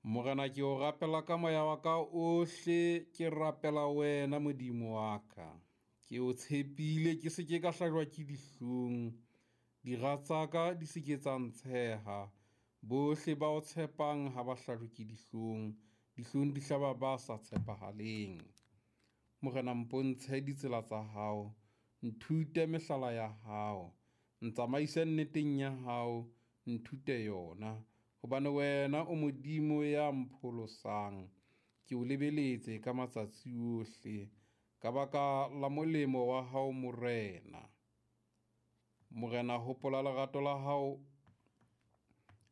Morena, ke o rapela ka moya wa ka ohle, ke rapela wena Modimo wa ka. Ke o tshepile, ke se ke ka hlajwa ke dihlong, dira tsa ka di se ke tsa ntsheha. Bohle ba o tshepang ha ba hlajwe ke dihlong, dihlong di hlaba ba sa tshepahaleng. Morena, mpontshe ditsela tsa hao, nthute mehlala ya hao, ntsamaise nneteng ya hao, nthute yona, hobane wena o Modimo ya mpholosang. Ke o lebeletse ka matsatsi ohle, ka baka la molemo wa hao Morena. Morena, hopola lerato la hao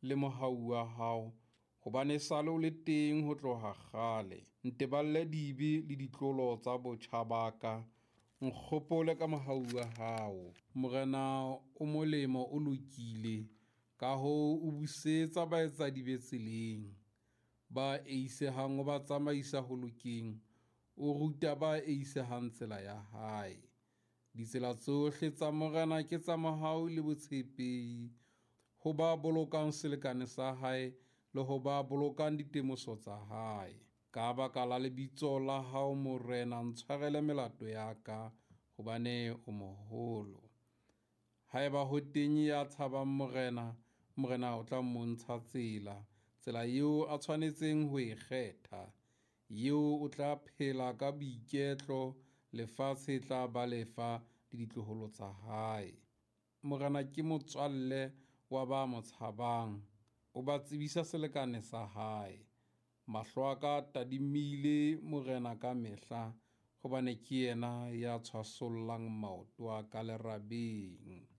le mohau wa hao, hobane esale o le teng ho tloha kgale. Nteballe dibe le ditlolo tsa botjha ba ka, nkgopole ka mohau wa hao. Morena o molemo, o lokile, ka hoo o busetsa baetsadibe tseleng. Ba eisehang o ba tsamaisa ho lokeng, o ruta ba eisehang tsela ya hae. Ditsela tsohle tsa Morena ke tsa mohau le botshepehi, ho ba bolokang selekane sa hae le ho ba bolokang ditemoso tsa hae. Ka baka la lebitso la hao Morena, ntshwarele melato ya ka, hobane o moholo. Haeba ho teng ya tshabang Morena, Morena o tla mmontsha tsela, tsela eo a tshwanetseng ho e kgetha. Eo o tla phela ka boiketlo, lefatshe e tla ba lefa le ditloholo tsa hae. Morena ke motswalle wa ba mo tshabang, o ba tsebisa selekane sa hae. Mahlo a ka a tadimile Morena ka mehla, hobane ke yena ya tshwasollang maoto a ka lerabeng.